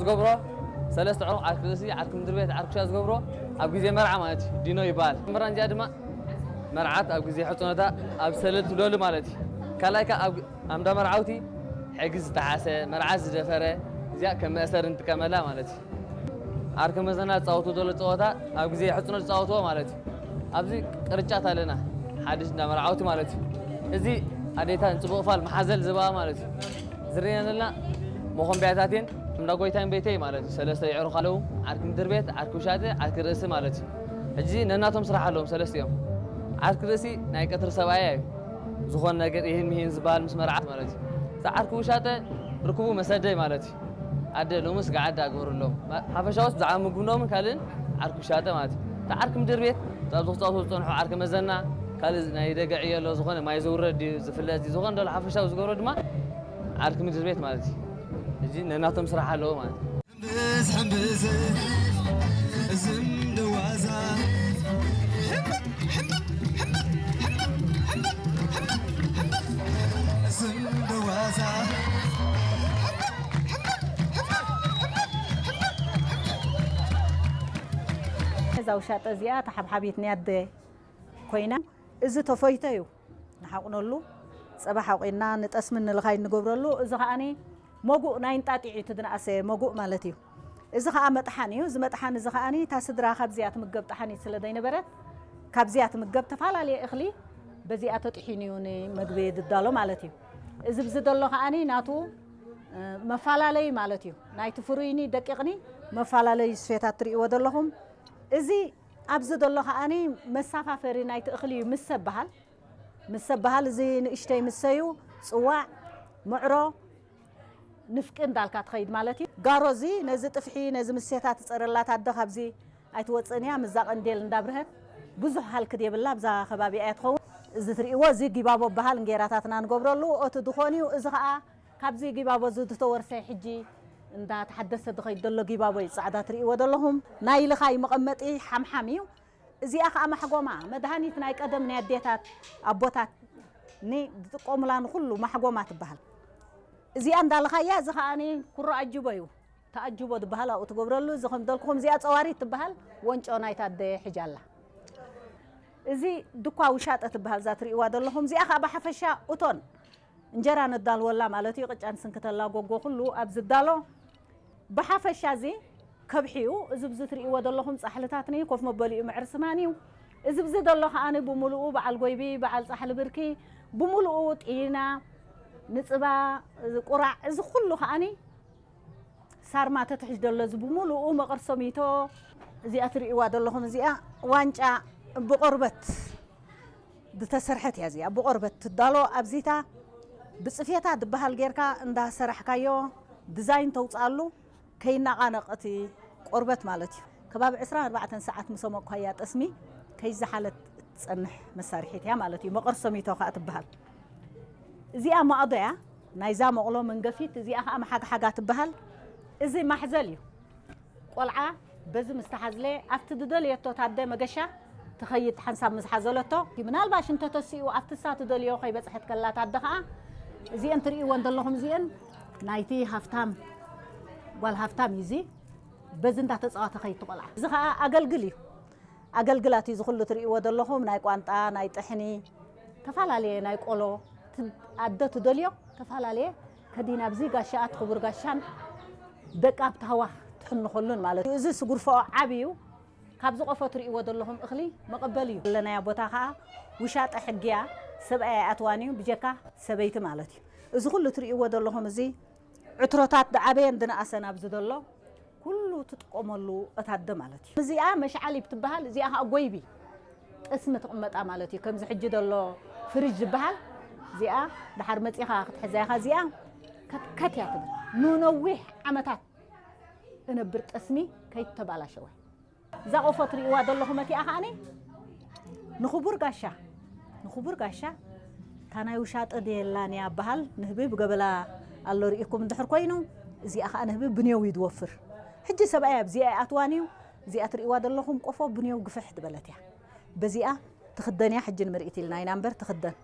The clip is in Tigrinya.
ገብሮ ሰለስተ ዕሩኽ ዓርኪ ርእሲ፣ ዓርኪ ምድሪ ቤት፣ ዓርኪ ውሻ ዝገብሮ ኣብ ግዜ መርዓ ማለት እዩ። ዲኖ ይበሃል። መራን እዚኣ ድማ መርዓት ኣብ ግዜ ሕጽኖታ ኣብ ሰለል ትብለሉ ማለት እዩ። ካልኣይ ከኣ ኣብ ኣምዳ መርዓውቲ ሕጊ ዝጠሓሰ፣ መርዓት ዝደፈረ እዚኣ ከም መእሰሪ ንጥቀመላ ማለት እዩ። ዓርኪ መዘና ዝጻወቱ ዘሎ ጸወታ ኣብ ግዜ ሕጽኖት ዝጻወትዎ ማለት እዩ። ኣብዚ ቅርጫት ኣለና፣ ሓድሽ እንዳ መርዓውቲ ማለት እዩ። እዚ ኣዴታን ጽቡቕ ፋል መሓዘል ዝበኣ ማለት እዩ። ዝርየን ዘለና መኾንቢያታት እየን። እንዳ ጎይታይን ቤተይ ማለት እዩ። ሰለስተ የዕሩኽ ኣለዉ። ዓርኪ ምድር ቤት፣ ዓርኪ ውሻጠ፣ ዓርኪ ርእሲ ማለት እዩ። ሕጂ ነናቶም ስራሕ ኣለዎም ሰለስቲኦም። ዓርኪ ርእሲ ናይ ቀትሪ ሰብኣያ እዩ። ዝኾነ ነገር ይህን ምሂን ዝበሃል ምስ መርዓት ማለት እዩ። እቲ ዓርኪ ውሻጠ ርክቡ መሰደይ ማለት እዩ። ኣደ ሎምስ ገዓዳ ግበሩሎም። ሓፈሻውስ ብዛዕባ ምግብኖምን ካልእን ዓርኪ ውሻጠ ማለት እዩ። እቲ ዓርኪ ምድር ቤት፣ ኣብዚ ክጻወቱ ዝጸንሑ ዓርኪ መዘና፣ ካልእ ናይ ደገ ዕዮ ኣሎ፣ ዝኾነ ማይ ዘውረድ ድዩ፣ ዝፍለጥ ድዩ፣ ዝኾነ ደሎ ሓፈሻዊ ዝገብሮ ድማ ዓርኪ ምድር ቤት ማለት እዩ። ሕጂ ነናቶም ስራሕ ኣለዎ ማለት እዩ። ሕምብስ ሕምብስ ዝም ደዋዛ ዝም ደዋዛ እዛ ውሻጠ እዚኣ ተሓብሓቢት ናይ ኣደ ኮይና፣ እዚ ተፈይቶ እዩ ንሓቑነሉ፣ ጸባ ሓቑና ንጠስምን ንልኻይ ንገብረሉ። እዚ ከኣኒ መጉእ ናይ እንጣጢዕ እዩ፣ እቲ ዝነኣሰ መጉእ ማለት እዩ። እዚ ከኣ መጥሓን እዩ። እዚ መጥሓን እዚ ከኣኒ እታ ስድራ ካብዚኣ ትምገብ ጠሓኒት ስለ ዘይነበረት፣ ካብዚኣ ትምገብ ተፈላለየ እኽሊ በዚኣ ተጥሒኑ እዩ ንመግቢ ዝዳሎ ማለት እዩ። እዚ ብዚ ዘሎ ከኣኒ ናቱ፣ እ፣ መፈላለዩ ማለት እዩ። ናይቲ ፍሩይኒ ደቂቕኒ መፈላለዩ ስፌታት ትርእይዎ ዘለኹም። እዚ ኣብዚ ዘሎ ከኣኒ መሳፋፈሪ ናይቲ እኽሊ እዩ። ምስ ሰብሃል፣ ምስ ሰብሃል እዚ ንእሽተይ ምሰዩ ጽዋዕ፣ ምዕሮ፣ ንፍቂ እንዳልካ ትኸይድ ማለት እዩ። ጋሮ እዚ ነዚ ጥፍሒ፣ ነዚ ምሴታ ትጸረላ ታደ ካብዚ ኣይትወጽእን እያ። ምዛ ቀንዴል እንዳብርሀት ብዙሕ ሃልክድ የብላ፣ ብዛ ከባቢ እያ ትኸውን። እዚ ትርእይዎ፣ እዚ ጊባቦ በሃል እንጌራታትና ንገብረሉ፣ ኦቲ ድኾን እዩ። እዚ ኸኣ ካብዚ ጊባቦ እዚ ዝተወርሰ ሕጂ እንዳተሓደሰ ዝኸይድ ዘሎ ጊባቦ እዩ። ጻዕዳ ትርእይዎ ዘለኹም ናይ ልኻይ መቐመጢ ሓምሓም እዩ። እዚኣ ኸኣ ማሕጎማ፣ መድሃኒት ናይ ቀደም ናይ ኣዴታት ኣቦታት ኒ ዝጥቀሙላ ንኹሉ ማሕጎማ ትበሃል። እዚኣ እንዳልኻያ፣ እዚ ኸኣኒ ኩሮ ኣጅቦ እዩ። ተኣጅቦ ዝበሃል ኣብኡ ትገብረሉ። እዚ ከም ደልኩኹም እዚኣ ጸዋሪት ትበሃል። ወንጮ ናይታ ኣደ ሕጂ ኣላ። እዚ ድኳ ውሻጠ ትበሃል እዛ ትርእይዋ ዘለኹም። እዚኣ ኸኣ ብሓፈሻ እቶን እንጀራ ነዳልወላ ማለት እዩ። ቅጫ ንስንክተላ ጎጎ ኩሉ ኣብ ዝዳሎ። ብሓፈሻ እዚ ከብሒ እዩ። እዚ ብዚ ትርእይዎ ዘለኹም ጻሕልታት ኒ ኮፍ መበሊኡ መዕር ስማን እዩ። እዚ ብዚ ዘሎ ከኣኒ ብምሉኡ በዓል ጎይቢ፣ በዓል ጻሕሊ ብርኪ፣ ብምሉኡ ጢና፣ ንጽባ፣ ቁራዕ፣ እዚ ኩሉ ከኣኒ ሳርማ ተትሕሽ ደሎ እዚ ብምሉኡ መቐርሶሚቶ። እዚኣ ትርእይዋ ዘለኹም እዚኣ ዋንጫ ብቆርበት ዝተሰርሐት እያ። እዚኣ ብቆርበት ትዳሎ። ኣብዚታ ብጽፌታ ዝበሃል ጌርካ እንዳሰራሕካዮ ዲዛይን ተውፅኣሉ ከይናቓነቕ እቲ ቆርበት ማለት እዩ። ከባቢ ዕስራን ኣርባዕተን ሰዓት ምስ ኣሞቕካያ ጠስሚ ከይዘሓለት እትጸንሕ መሳርሒት እያ ማለት እዩ። መቐርሶሚቶ ከኣ ትበሃል። እዚኣ ማእዶ እያ፣ ናይዛ መቕሎ መንገፊት። እዚኣ ከኣ መሓግሓጋ ትበሃል። እዚ ማሕዘል እዩ። ቆልዓ በዚ ምስ ተሓዝለ ኣብቲ ዝደልየቶ ታደ መገሻ ትኸይድ ሓንሳብ ምስ ሓዘለቶ። ምናልባሽ እንተተሲኡ ኣብቲ እሳ ትደልዮ ከይበጽሐት ከላ ታደ ከኣ እዚአን ትርእይወን ዘለኹም እዚአን ናይቲ ሃፍታም ጓል ሃፍታም እዩ። እዚ በዚ እንዳተጻወተ ከይድ ትቆልዓ። እዚ ከኣ ኣገልግል እዩ። ኣገልግላት እዩ። እዚ ኩሉ ትርእይዎ ዘለኹም ናይ ቋንጣ፣ ናይ ጥሕኒ፣ ተፈላለየ ናይ ቆሎ፣ ት-፣ ኣደ ትደልዮ ተፈላለየ ከዲና ኣብዚ ጋሻ ኣት ክቡር ጋሻን ደቃ ኣብ ታህዋ ትሕንኸሉን ማለት እዩ። እዚ ስጉርፈኦ ዓቢ እዩ። ካብዚ ቆፎ ትርእይዎ ዘለኹም እኽሊ መቐበሊ እዩ። ዘለናያ ቦታ ኸኣ ውሻጠ ሕጊያ ሰብኣይ ኣይኣትዋን እዩ ብጀካ ሰበይቲ ማለት እዩ። እዚ ኩሉ ትርእይዎ ዘለኹም እዚ ዕትሮታት ዝዓበየን ዝነኣሰን ኣብዚ ዘሎ ኩሉ ትጥቀመሉ እታ ኣደ ማለት እዩ። እዚኣ መሽዓሊብ ትበሃል፣ እዚኣ ኸኣ ጎይቢ ጠስሚ ትቕመጣ ማለት እዩ። ከምዚ ሕጂ ዘሎ ፍሪጅ ዝበሃል እዚኣ ድሓር መጺኻ ክትሕዛ ኢኻ። እዚኣ ከትከት እያ ትብል። ንነዊሕ ዓመታት እነብር ጠስሚ ከይተባላሸወ። እዛ ቆፎ ትርእይዋ ዘለኹም እቲኣ ከኣኒ ንኽቡር ጋሻ፣ ንኽቡር ጋሻ እታ ናይ ውሻጠ ድየላን እያ በሃል ንህቢ ብገበላ ኣሎ ርኢኩም እንድሕር ኮይኑ፣ እዚኣ ከኣ ንህቢ ብንየው እዩ ዝወፍር። ሕጂ ሰብኣይ ኣብዚኣ ኣይኣትዋን እዩ። እዚኣ ትርእይዋ ዘለኹም ቆፎ ብንየው ግፍሕ ዝበለት እያ። በዚኣ ትኽደን እያ። ሕጂ ንምርኢት ኢልና ኢና እምበር ትኽደን።